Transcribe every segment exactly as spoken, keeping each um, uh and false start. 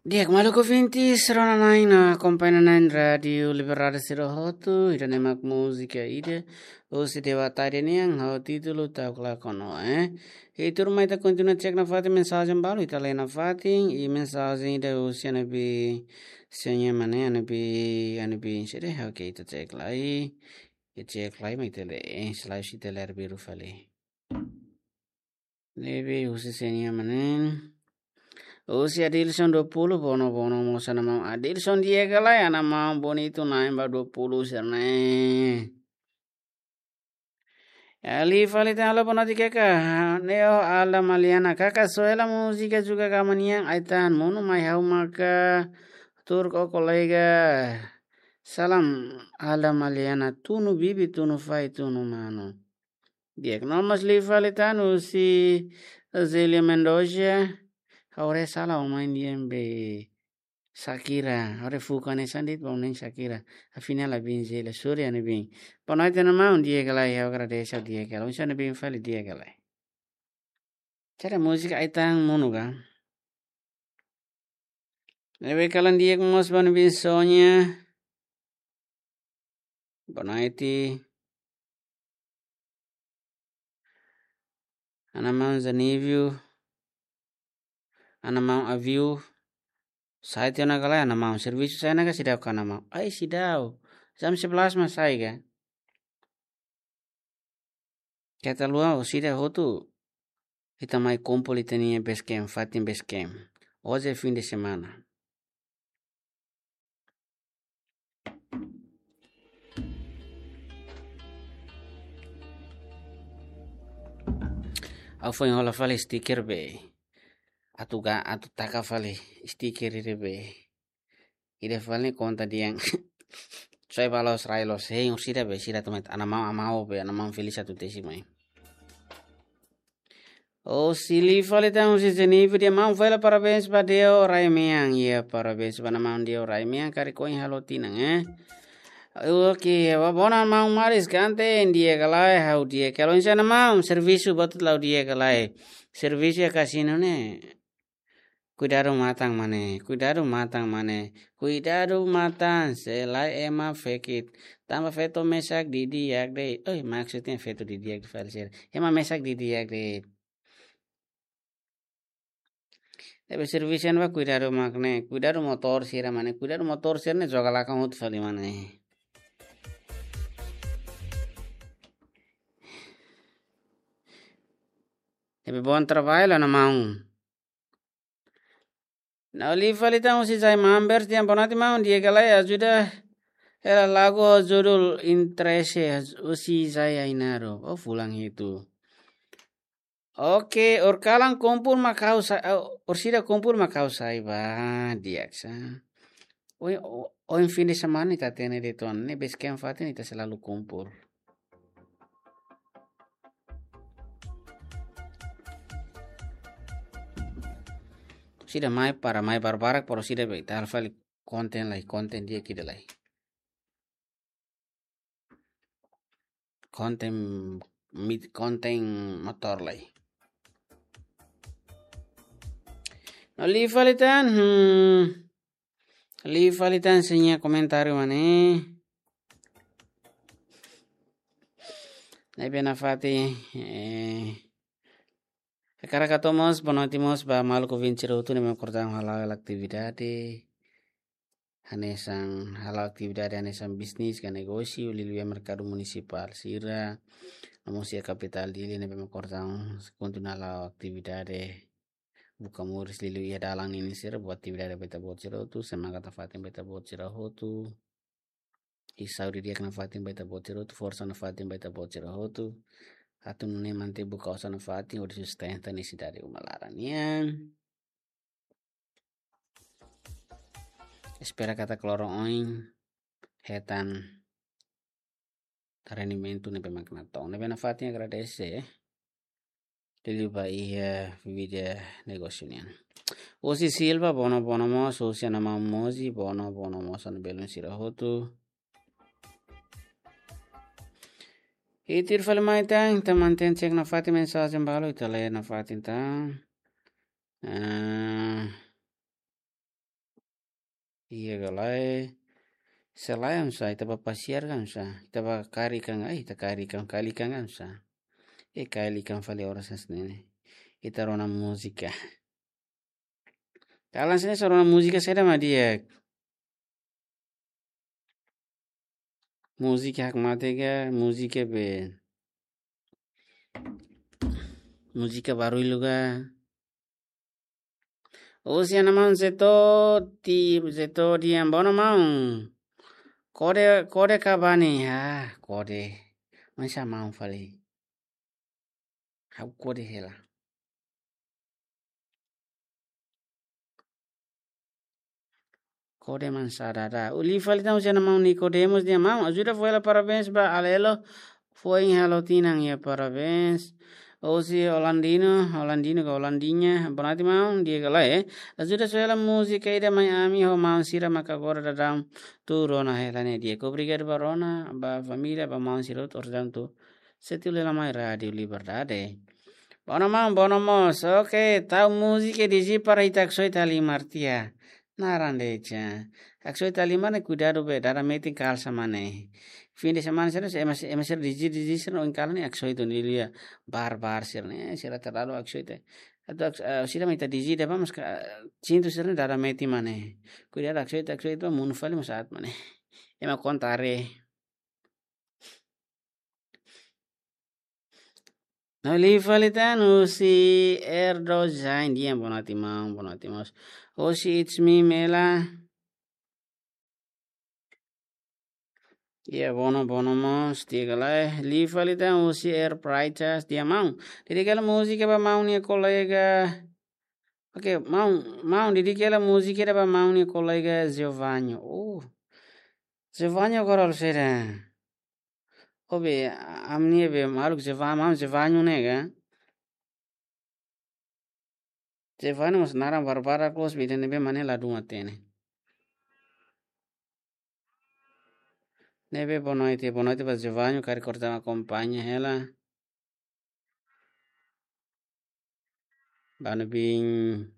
Di'ak, maluk ouvintes, rona-na'in no akompaña-na'in Rádiu Liberdade sira hotu, ida-ne'e mak múzika ida husi Dewa Tari nian, ho títulu Ta'uk Lakon Ó, eh. I tuirmai ita kontinua cek nafatin mensajen balu, ita lee nafatin, i mensajen ida husi Anabi Seña Manen, Anabi, Anabi sede, oke, ita cek lai, ita cek lai, mai ita lee, eh, selae ita lee arbiru fali. Ne'ebé husi Seña Manen. Husi Adilson dua puluh, bono, bono, mós ana maun Adilson di'ak ka lae, ana maun bonitu na'in ba dua puluh sira-ne'e. Ali fali tan, halo, boa noite kaka. Ne'e ó Alda Maliana, kaka, só hela múzika juga ka maun nian, ai-tahan monu mai ha'u maka tuur ó kolega. Salam Alda Maliana, tunu bibi, tunu fai, tunu manu. Di'ak, no mós liu fali tan husi Zelia Mendoza. Ha'u haree sala ó mai nian be Shakira. Ha'u haree fuuk hanesan de'it ba ó nian Shakira. Afinál la biin Zelia, sorry, ha'u-nia biin. Boa noite, ana maun, di'ak ka lae, ha'u agradese, di'ak ka lae. Oinsá ha'u-nia biin fali, di'ak ka lae. Cara múzika ai-tahan monu ka. Ne'ebé kalan di'ak mós ba nia biin Sonia. Boa noite. Ana maun Zanívio. Ana maun Aviu. Sai tiha ona ka lae, ana maun? Servisu sai ona ka seidauk, ana maun? Ai, seidauk. Jam sebelas mak sai ka. Keta haluha, orsida hotu ita mai kumpul ita-nia base camp, fatin base camp. Hoje é fim de semana. Ha'u foin hola fali stiker be. Atu ga, atu taka fali stiker ida be. Ida fali konta dehan. Soe ba loos, rai loos, hein, orsida be, sira tomat, ana maun, ana maun be, ana maun Felix atu tesi mai. Husi liu fali tan husi Jennifer, dehan maun fali parabéns ba Deo Raimean. Iya, parabéns ba ana maun Deo Raimean, karik ohin halo tinan, eh. Oke, ba bonan maun Maris Kanten, di'ak ka lae, ha'u di'ak ka lae. Oinsá ana maun, servisu buat hotu la'o di'ak ka lae. Servisu iha kasinu ne'e. Kuidadu matan, mane, kuidadu matan, mane, kuidadu matan, se lae ema fekit. Tanba feto mesak didi'ak de'it. Oi, maksudnya feto didi'ak de'it fali sira. Ema mesak didi'ak de'it. Tapi servisu ne'ebá kuidadu mak ne'e, kuidadu motór sira, mane, kuidadu motór sira ne'e joga lakon hotu fali, mane. Tapi bom trabalho, ana maun. No liu fali tan husi Zai Mambers, dehan boa noite maun, di'ak ka lae, ajuda hela lagu ho judul Interesse husi Zai Ainaro. Oh, fulan hitu. Oke, ohin kalan kumpul mak ha'u sa-, oh, orsida kumpul mak ha'u sai ba, di'ak sa. Oi, o-, ohin fim de semana ita hatene de'it ona, ne'e base camp fatin ita selalu kumpul. Orsida mai para mai barbarak, para orsida be ita halo fali konten lai, konten di'ak ida lai. Konten mit-, konten motór lai. No liu fali tan, hmm. Liu fali tan sira-nia komentáriu, mane. Ne'ebé nafatin, eh, hakarak hato'o mós boa noite mós ba maluk ouvinte sira hotu ne'ebé mak kordaun hala'o hela atividade. Hanesan hala'o atividade hanesan bisnis ka negósiu, liuliu iha merkadu munisipál sira. No mós iha kapitál Dili ne'ebé mak kordaun kontinua hala'o atividade. Buka moris liuliu iha dalan ninin sira, buat atividade ba ita-boot sira hotu, semangat nafatin ba ita-boot sira hotu. I saúde di'ak nafatin ba ita-boot sira hotu, forsa nafatin ba ita-boot sira hotu. Atu nune'e mantein buka osan nafatin, hodi sustenta nesesidade uma laran nian. Espera katak loron oin hetan rendimentu ne'ebé mak natoon. Ne'ebé nafatin agradese, eh. Liuliu ba iha vida negósiu nian. Husi Silva, bono, bono mós, husi ana maun Mozi, bono, bono mós, ana belun sira hotu. I tuir fali mai tan, ita mantein cek nafatin mensajen balu, ita lee nafatin tan. Ah, Iha ka lae. Se lae oinsá, ita bá pasiar ka oinsá. Ita bá kaer ikan, ai, ita kaer ikan, kail ikan ka oinsá. E kail ikan fali oras hanesan ne'e. Ita rona múzika. Kalan sini só rona múzika saida mak di'ak. Múzika hakmatek ka, múzika be. Múzika barullu ka. Husi ana maun Zeto, ti Zeto di'ak, bono maun. Kode, kode kabani, ah, kode. Oinsá maun fali. Ha'u kode hela. Kode mansá dada. Liu fali tan husi ana maun Nicodemus di'ak, maun, ajuda fó hela parabéns ba Alelo. Foin halo tinan iha, parabéns. Husi Holandino, Holandino ka Holandinha. Boa noite maun, di'ak ka lae. Ajuda fó hela múzika ida mai ami ho maun sira maka agora daudaun tuur ona hela ne'e di'ak. Obrigadu ba rona, ba família, ba maun sira hotu daudaun tuur. Sei tuir hela mai Rádiu Liberdade. Bono maun, bono mós. Oke, tau múzika DJ para ita haksoit halimar tiha. Naran de'it. Haksoit halimar ne'e kuidadu be, dada metin kalsa mane. Fin de semana sira ema, ema sira DJ, DJ sira oin kalan ne'e haksoit ne'e lia. Bar, bar sira ne'e, sira terlalu haksoit. Atu hak-, eh, sira mak ita DJ de'it bá maske, eh, cintu sira ne'e dada metin mane. Kuidadu haksoit, haksoit bá monu fali mós aat mane. Ema kontare. No liu fali tan husi Erdo Zain di'ak, boa noite maun, boa noite mós. Husi It's Me Mela. Iha, bono, bono mós, di'ak ka lae. Liu fali tan husi Air Pritas di'ak, maun. Dedika hela múzika ba maun nia kolega. Oke, maun, maun, dedika hela múzika ida ba maun nia kolega Giovanni. Oh. Giovanni agora halo saida? Obe, ami-nia be maluk Giovanni, maun Giovanni ne'e ka? Giovanni mós naran barbarak loos, be ida ne'ebé mane ladún hatene. Ne'ebé boa noite, boa noite ba Giovanni, karik korta akompaña hela. Ba Nubin.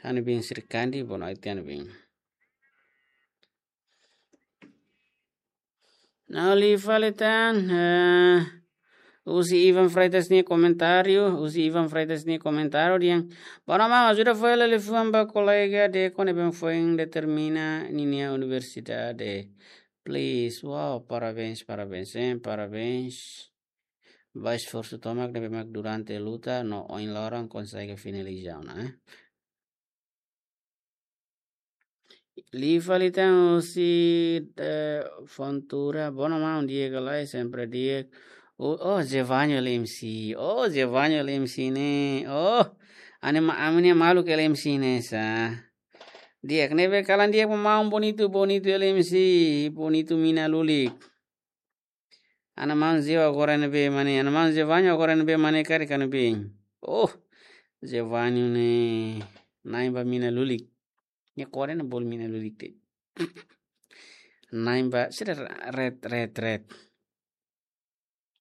Anu bin Srikandi, boa noite, anu bin. No liu fali tan, eh, husi Ivan Freitas nia komentáriu, husi Ivan Freitas nia komentáriu dehan, bono maun, ajuda fó hela liafuan ba kolega Deco ne'ebé foin determina ninia universidade. Please, wow, parabéns, parabéns, eh, parabéns. Ba esforsu tomak ne'ebé mak durante luta no ohin loron konsege finaliza ona, eh. Liu fali tan husi, eh, Fontura, bono maun, di'ak ka lae, sempre di'ak. Oh, oh, Zevanho L M C. Oh, Zevanho L M C ne'e. Oh, ane ma-, ami-nia maluk L M C ne'e sá. Di'ak, ne'ebé kalan di'ak ba maun, bonitu, bonitu L M C, bonitu mina lulik. Ana maun Zeo agora ne'ebé mane, ana maun Zevanho agora ne'ebé mane karik anu bin. Oh, Zevanho ne'e na'in ba mina lulik. Nia kore ne'e bolu mina lulik de'it. Na'in ba, sira ret, ret, ret.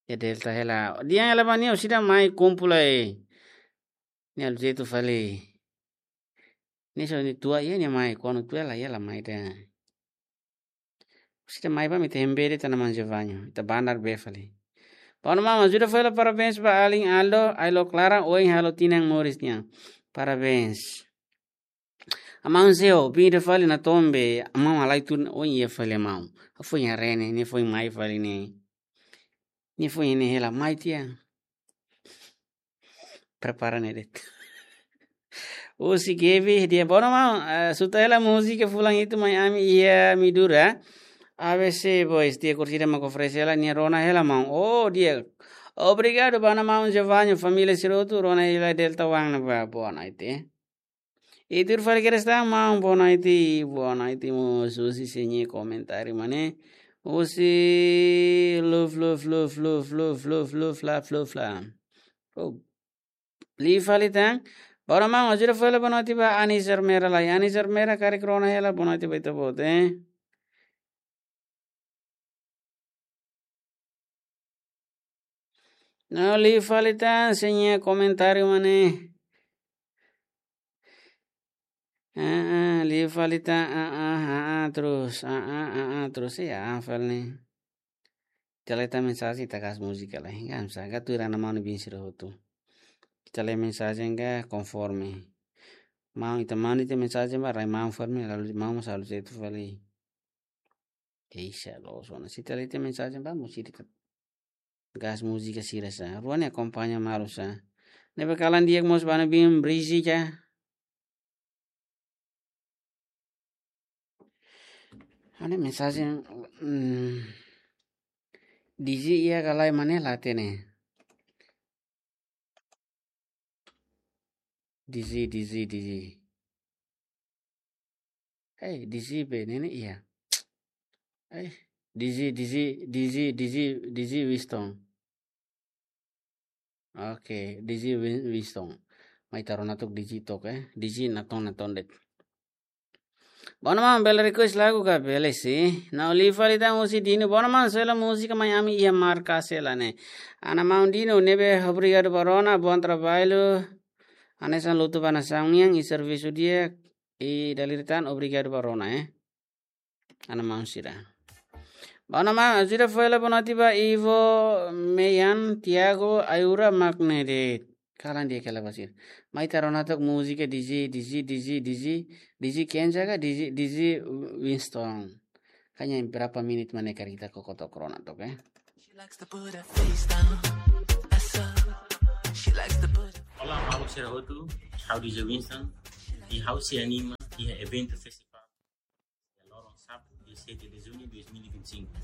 Ya Delta hela. Dehan hela ba nia, sira mai kumpul lai. Nia halo jeitu fali. Nia só nia tua, iha nia mai, kuandu tua hela, iha la mai de'it. Sira mai ba ita hembere ita-nia maun Zevanho, ita bandar be fali. Bono maun, ajuda fó hela parabéns ba alin Aldo, Ailo Clara, ohin halo tinan moris nian. Parabéns. Amaun Zeo, bin ida fali na tombe, amaun halai tun, ohin iha fali amaun. Foin haree ne'e, nia foin mai fali ne'e. Nia foin ne'e hela mai tiha. Prepara ne'e de'it. Husi Gaby, dehan bono maun, eh, suta hela múzika fulan hitu mai ami iha Midura. A B C Boys, dehan kursida mak oferese hela, nia rona hela maun. Oh, dehan. Obrigadu ba ana maun Zevanho, família sira hotu, rona hela Delta One ne'ebá, boa noite. I tuir fali kedas tan maun, boa noite, boa noite mós, husi sira-nia komentáriu mane. Husi luf, luf, luf, la, fluf, la. Oh. Liu fali tan. Bono maun, ajuda fó hela boa noite ba Ani Zermera lai. Ani Zermera karik rona hela boa noite ba ita-boot, eh. No liu fali tan sira-nia komentáriu mane. Ah, ah, liu fali ita, ah, ah, ah, ah, terus, ah, ah, ah, ah, terus, ya, hafal ne'e. Ita la hetan mensajen, ita gas múzika lai. Kan, sa, ka tuir Ana Maun nia biin sira hotu. Ita lee mensajen ka konforme. Maun, ita manda ita mensajen ba rai maun fali, lalu maun mós halo sira atu fali. Eixa, loos ona. Se ita la hetan mensajen ba, mós ita gas múzika sira sa. Rua ne'e akompaña malu sa. Ne'ebé kalan di'ak mós ba Ana Maun biin Brizi ka. Ha'u-nia mensajen, mm, Dizzy iha ka lae, mak ne'e la hatene. Dizzy, Dizzy, Dizzy. Hei, Dizzy be ne'e ne'e iha. Hei, Dizzy, Dizzy, Dizzy, Dizzy, Dizzy Winston. Oke, Dizzy Win-, Winston. Mai ita rona tok Dizzy tok, eh. Dizzy naton, naton de'it. Bom, Ana Maun, bele request lagu ka? Bele, sin. Nau, liu fali ita husi Dino. Bom, Ana Maun, sela múzika mai ami iha marka sela ne'e. Ana Maun Dino, ne'ebé obrigadu ba rona, bom trabalho. Hanesan lutu ba nasaun nian, i servisu di'ak, i dala ida tan obrigadu ba rona, eh. Ana Maun sira. Bom, Ana Maun, ajuda fo'er lai boa noite ba Ivo, Meyan, Tiago, Ayura, mak ne'e de'it. Kalan di'ak hela ba sira. Mai ita rona tok múzika Dizzy, Dizzy, Dizzy, Dizzy, Dizzy Kenza ka, Dizzy, Dizzy Winston. Hanya berapa menit mak ne'e, karik ita koko tok rona tok, eh. She likes to put her face down. That's up. She likes to put her... Olá, maluk sira hotu. Ha'u Dizzy Winston. I ha'u sei anima iha eventu festival iha loron Sábadu, dia sete de junho de dois mil e vinte e cinco.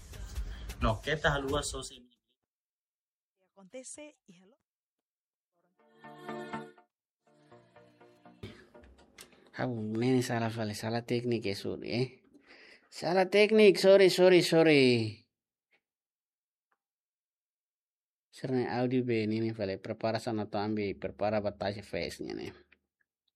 No keta haluha sosa imi-nia bilhete. Akontese iha lo... Ha'u, ne'e ne'e sala fali, sala tékniku, eh, sorry, eh. Sala tékniku, sorry, sorry, sorry. Sira-nia áudio be ne'e ne'e fali, prepara sana to ambi, prepara ba tasi fest nian ne'e.